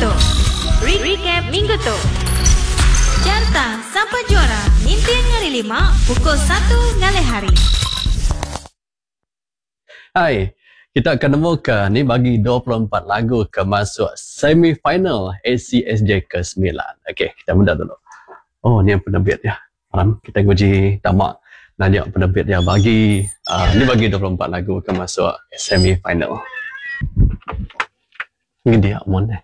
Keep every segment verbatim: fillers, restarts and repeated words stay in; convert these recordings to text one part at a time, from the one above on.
tu. Recap minggu tu. Carta Sapa Juara ninting hari lima pukul satu ngalih hari. Hai, kita akan nemu ke ni bagi dua puluh empat lagu ke masuk semi-final A C S J ke sembilan. Okey, kita muda dulu. Oh, ni yang penerbit ya. Malam kita nguji tamak nanya penerbit dia bagi, uh, ni bagi dua puluh empat lagu ke masuk semi-final. Ni dia mon eh.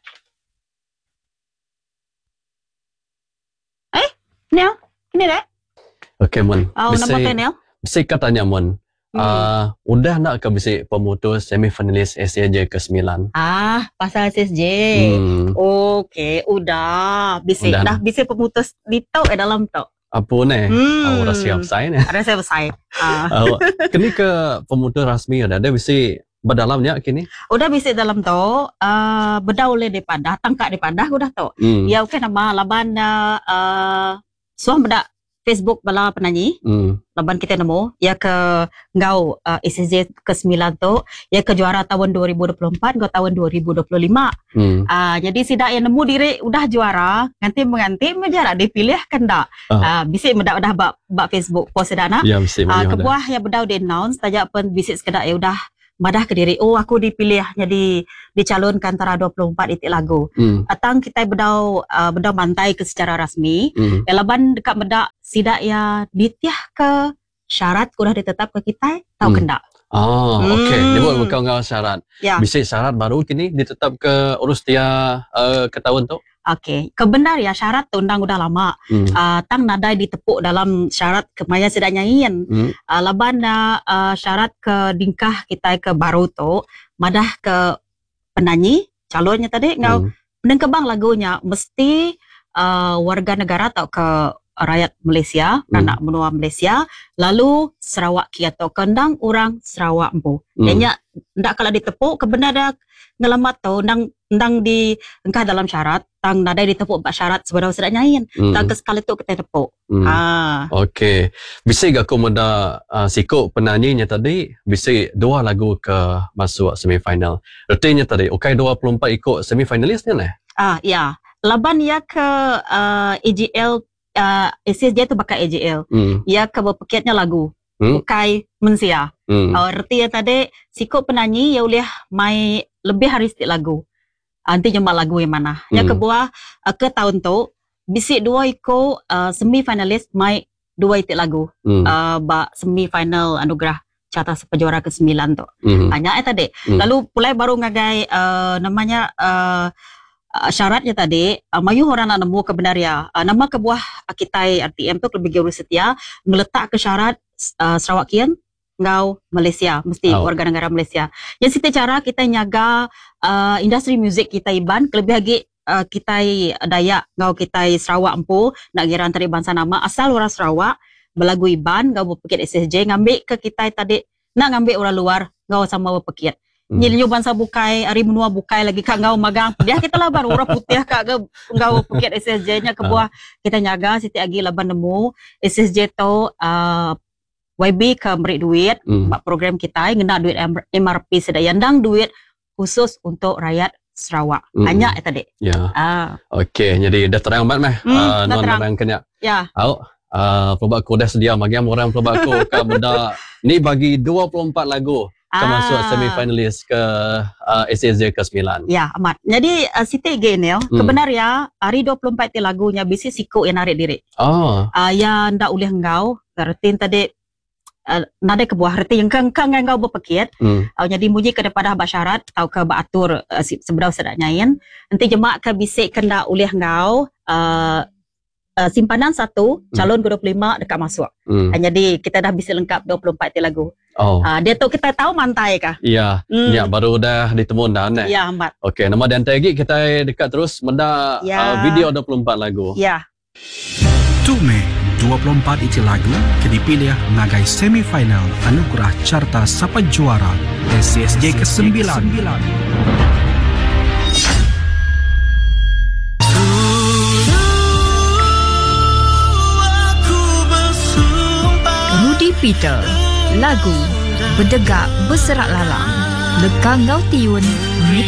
Eh, Neil, ini dah. Okey mon. Oh, nama teh Neil. Mesti katanya mon. Hmm. Uh, udah nak ke bisi pemutus semifinalis A C S J ke sembilan? Ah, pasal A C S J. Hmm. Okey, udah. Bisi udah. Dah bisi pemutus di tau eh dalam tau. Apa ni? Hmm. Oh, dah siap saya ni. Dah siap saya. Ah. Uh, kini ke pemutus rasmi udah ada bisi berdalamnya kini? Udah bisi dalam tu, uh, bedau oleh depadah, tangkak depadah udah tu. Hmm. Ya okey nama laban uh, suah bedak Facebook bala penyanyi. Hmm. Laban kita nemu ya ke ngau uh, A C S J ke sembilan tu, ya ke juara tahun dua ribu dua puluh empat ngau tahun dua ribu dua puluh lima. Hmm. Uh, jadi sidak yang nemu diri udah juara, nganti menganti menjarak dipilih kan dak. Uh. Uh, bisik mendak udah bab bab Facebook post sidak nak. Ya bisik uh, kebuah yang bedau di announce tajak pun bisik sekedak ya udah madah ke diri, oh aku dipilih jadi dicalonkan antara dua puluh empat itik lagu. Mm. Atang kita bedau uh, bedau mantai ke secara rasmi. Mm. Ya laban dekat bedak sidak ya ditiah ke syarat udah ditetap ke kita tau mm. kendak. Oh, hmm. Okey. Dia buat bukan ngau syarat. Ya. Bisik syarat baru kini ditetap ke urus tia uh, ke tahun tu. Okey, kebenar ya syarat tu undang udah lama. Hmm. Uh, tang nadai ditepuk dalam syarat kemaya sedak nyain. Hmm. Uh, laban uh, syarat ke dingkah kita ke baru tu madah ke penyanyi calonnya tadi ngau hmm. penengkebang lagunya mesti uh, warga negara atau ke rakyat Malaysia, hmm. anak menua Malaysia, lalu Sarawak kia atau kendang orang Sarawak empu. Hmm. Nya ndak kalau ditepuk kebenar dah ngelamat tu ndang ndang di engkah dalam syarat tang nadai ditepuk bak syarat sebenarnya sedak nyain. Hmm. Tang ke sekali tu kita tepuk. Hmm. Ha. Okey. Bisi aku meda uh, sikuk penyanyinya tadi bisi dua lagu ke masuk semifinal. Ertinya tadi okey dua puluh empat ikut semifinalis ni lah. Ah ya. Laban ya ke uh, A G L uh, A C S J tu bakal A G L. Hmm. Ya ke berpeketnya lagu. Hmm. Bukai mensia. Hmm. Uh, erti ya tadi sikuk penyanyi ya boleh mai lebih hari setiap lagu. Nanti jumpa lagu yang mana. Hmm. Yang kebuah uh, ke tahun tu bisik dua iko uh, semi finalis mai dua itik lagu. Hmm. Uh, bak semi final anugerah carta sepejuara ke sembilan tu. Hmm. Banyak eh tadi. Hmm. Lalu pulai baru ngagai uh, namanya uh, uh, syaratnya tadi uh, mayu orang nak nemu kebenaria. Uh, nama kebuah uh, kita R T M tu lebih guru setia meletak ke syarat uh, Sarawakian ngau Malaysia mesti oh. warga negara Malaysia. Yang siti cara kita nyaga uh, industri muzik kita Iban kelebih lagi uh, kita Dayak ngau kita Sarawak empu nak kira antara bangsa nama asal orang Sarawak belagu Iban ngau berpekit S S J ngambil ke kita tadi nak ngambil orang luar ngau sama berpekit. Hmm. Nyi bangsa bukai ari menua bukai lagi kak ngau magang dia kita lah baru orang putih kak ke ngau berpekit S S J nya ke buah kita nyaga siti agi laban nemu S S J tu uh, Y B ke beri duit mm. bak program kita ngena duit M R P sedaya ndang duit khusus untuk rakyat Sarawak. Mm. Hanya eh tadi. Ya. Ah. Okey, jadi dah terang banget meh. Mm, uh, dah non terang. orang kena. Ya. Au, uh, pelabak aku dah sedia bagi orang pelabak aku ke benda ni bagi dua puluh empat lagu ke Ah. masuk semifinalis ke uh, A C S J ke sembilan. Ya, amat. Jadi uh, Siti G ni, Mm. kebenar ya, hari dua puluh empat ti lagunya bisi sikuk yang narik diri. Oh. Uh, ya ndak ulih engkau, retin tadi Uh, nadai kebuah reti yang kengkang ngau berpekit mm. uh, jadi muji ke depan bak syarat atau ke beratur uh, seberau sedak nyain nanti jemak ke bisik kena ulih ngau uh, uh, simpanan satu calon ke dua puluh lima dekat masuk. Mm. Uh, jadi kita dah bisa lengkap dua puluh empat lagu. Oh. Uh, dia tu kita tahu mantai kah? Iya. Mm. Ya baru dah ditemu dah ne. Ya amat. Okey, nama dan lagi kita dekat terus menda Ya. uh, video dua puluh empat lagu. Ya. Tume dua puluh empat iti lagu ke dipilih ngagai semifinal Anugerah Carta Sapa Juara A C S J ke sembilan. Rudy Peter, lagu Berdegak Berserak Lalang, Lekang Ngau Tiun,